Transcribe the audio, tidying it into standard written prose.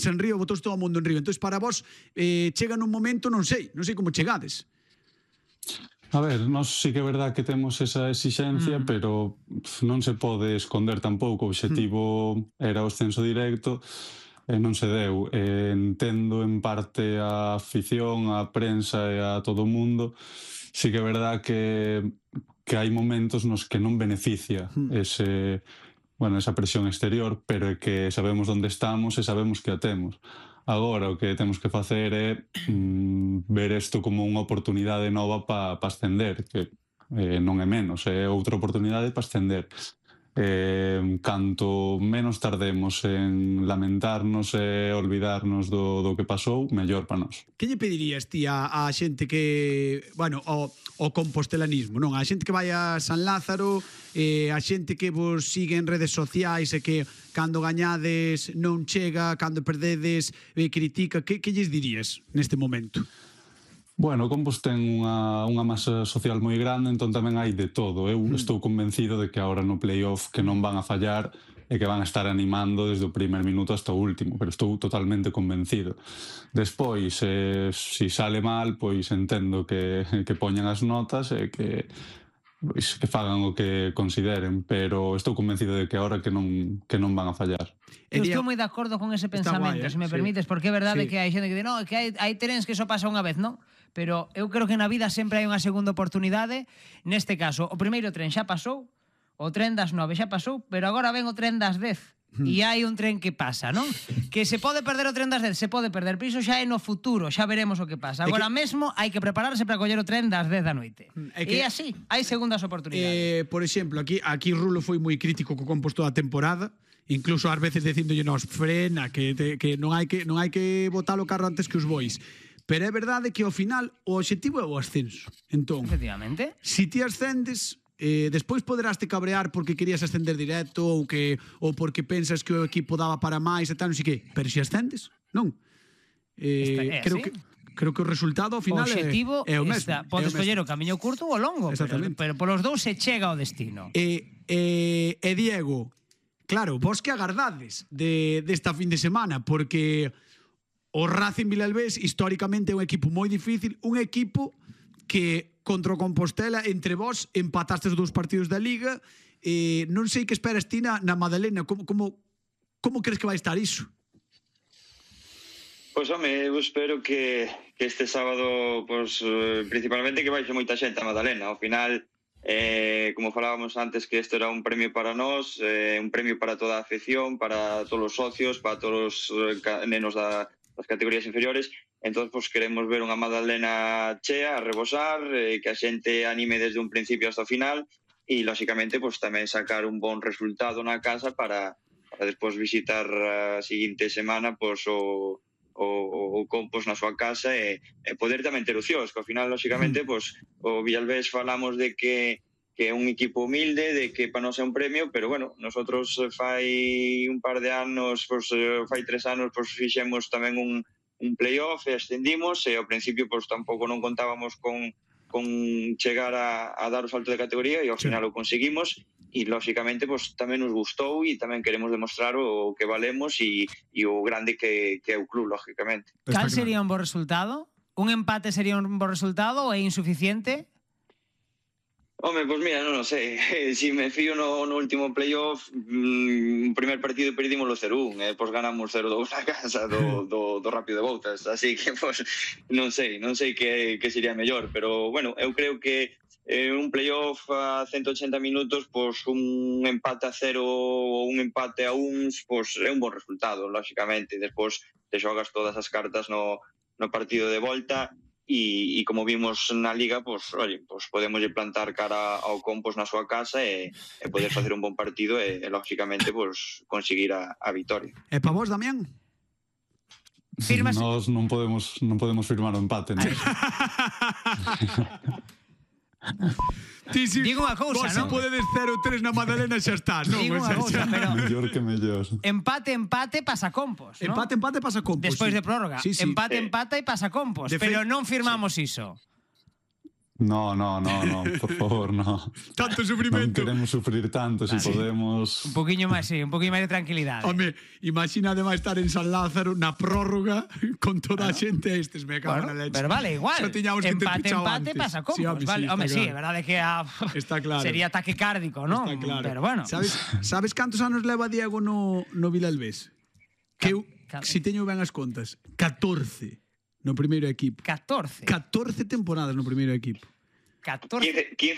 en río, botouse todo o mundo en río. Entón, para vos, chega nun momento, non sei como chegades. A ver, nós sí que é verdad que temos esa exixencia, pero non se pode esconder tampouco. O obxectivo era o ascenso directo e non se deu. Entendo en parte a afición, a prensa e a todo o mundo. Sí que é verdad que hai momentos nos que non beneficia esa presión exterior, pero é que sabemos onde estamos e sabemos que a temos. Agora, o que temos que facer é ver isto como unha oportunidade nova para ascender, que non é menos, é outra oportunidade para ascender. Canto menos tardemos en lamentarnos e olvidarnos do que pasou, mellor para nós. Que lle pedirías ti a xente que, bueno, o compostelanismo, non? A xente que vai a San Lázaro, a xente que vos sigue en redes sociais e que cando gañades non chega, cando perdedes critica, que lles dirías neste momento? Bueno, o Compos ten unha masa social moi grande, entón tamén hai de todo. Eu estou convencido de que agora no playoff que non van a fallar e que van a estar animando desde o primer minuto hasta o último, pero estou totalmente convencido. Despois, se sale mal, pois entendo que poñan as notas e que fagan o que consideren, pero estou convencido de que agora que non van a fallar. Eu estou moi de acordo con ese pensamento, se me permites, porque é verdade que hai xente que di, no, que hai trenes que só pasa unha vez, non? Pero eu creo que na vida sempre hai unha segunda oportunidade. Neste caso, o primeiro tren xa pasou, o tren das 9 xa pasou, pero agora ven o tren das 10. E hai un tren que pasa, non? Que se pode perder o tren das 10, se pode perder, pero iso xa é no futuro, xa veremos o que pasa. Agora mesmo hai que prepararse para coller o tren das 10 da noite. E así, hai segundas oportunidades. Por exemplo, aquí Rulo foi moi crítico co Compos toda a temporada, incluso ás veces dicindolle nos frena, que non hai que botar o carro antes que os bois. Pero é verdade que ao final o obxectivo é o ascenso. Entón, efectivamente, si ti ascendes, despois poderás te cabrear porque querías ascender directo ou porque pensas que o equipo daba para máis e tal, non sei que, pero si ascendes, non? Creo que o resultado ao final é o mesmo. Podes coller o camiño curto ou o longo, pero polos dous se chega ao destino. Diego, claro, vos que agardades desta fin de semana, porque o Racing Vilalbés históricamente é un equipo moi difícil, un equipo que contra o Compostela, entre vós empatastes 2 partidos da Liga, non sei que esperas ti na Madalena, como crees que vai estar iso? Pois, home, eu espero que este sábado, principalmente que vaixe moita xente a Madalena. Ao final, como falábamos antes, que isto era un premio para nós, un premio para toda a afición, para todos os socios, para todos os nenos das categorías inferiores. Entón, queremos ver unha Madalena chea, a rebosar, que a xente anime desde un principio hasta o final e, lóxicamente, tamén sacar un bon resultado na casa para despois visitar a seguinte semana o Compos na súa casa e poder tamén ter opcións, que ao final, lóxicamente, o Vilalbés falamos de que é un equipo humilde, de que para nós é un premio, pero, bueno, nosotros fai un par de anos, fai 3 anos, fixemos tamén un playoff e ascendimos, e ao principio tampouco non contábamos con chegar a dar o salto de categoría e ao final o conseguimos e lóxicamente tamén nos gustou e tamén queremos demostrar o que valemos e o grande que é o club, lóxicamente. Cal sería un bo resultado? Un empate sería un bo resultado ou é insuficiente? Home, pois mira, non sei, se me fío no último playoff, o primer partido perdimos o 0-1, pois ganamos 0-2 na casa do Rápido de Bouzas, así que non sei que sería mellor, pero bueno, eu creo que un playoff a 180 minutos, un empate a 0 ou un empate a 1, é un bon resultado, lóxicamente, despois te xogas todas as cartas no partido de volta. E como vimos na Liga, podemos plantar cara ao Compos na súa casa e poder facer un bon partido e lógicamente, conseguir a vitoria. E para vos, Damián? Nós non podemos firmar o empate, non? Digo unha cousa, non? Vos se podedes 0-3 na Madalena xa está, non? Digo unha cousa, pero mellor que mellor. Empate pasa Compos, non? Empate pasa Compos. Despois de prórroga. Empate e pasa Compos, pero non firmamos iso. No, por favor, no. Tanto Non sufrimento. queremos sufrir tanto, se podemos... Un poquinho máis, sí, un poquinho máis de tranquilidade. Home, imagina además estar en San Lázaro na prórroga con toda a xente estes, me cago na leche. Pero vale, igual. Xa tiñamos que ter Empate, fichado empate antes. pasa como. Sí, home, Vale, está home, sí, claro. é verdade que Está claro. sería ataque cárdico, ¿no? Está claro. Pero bueno. Sabes cantos anos leva Diego no Vilalbés? Que eu, si teño ben as contas, 14 no primeiro equipo. 14. 14 temporadas no primeiro equipo. 14. 15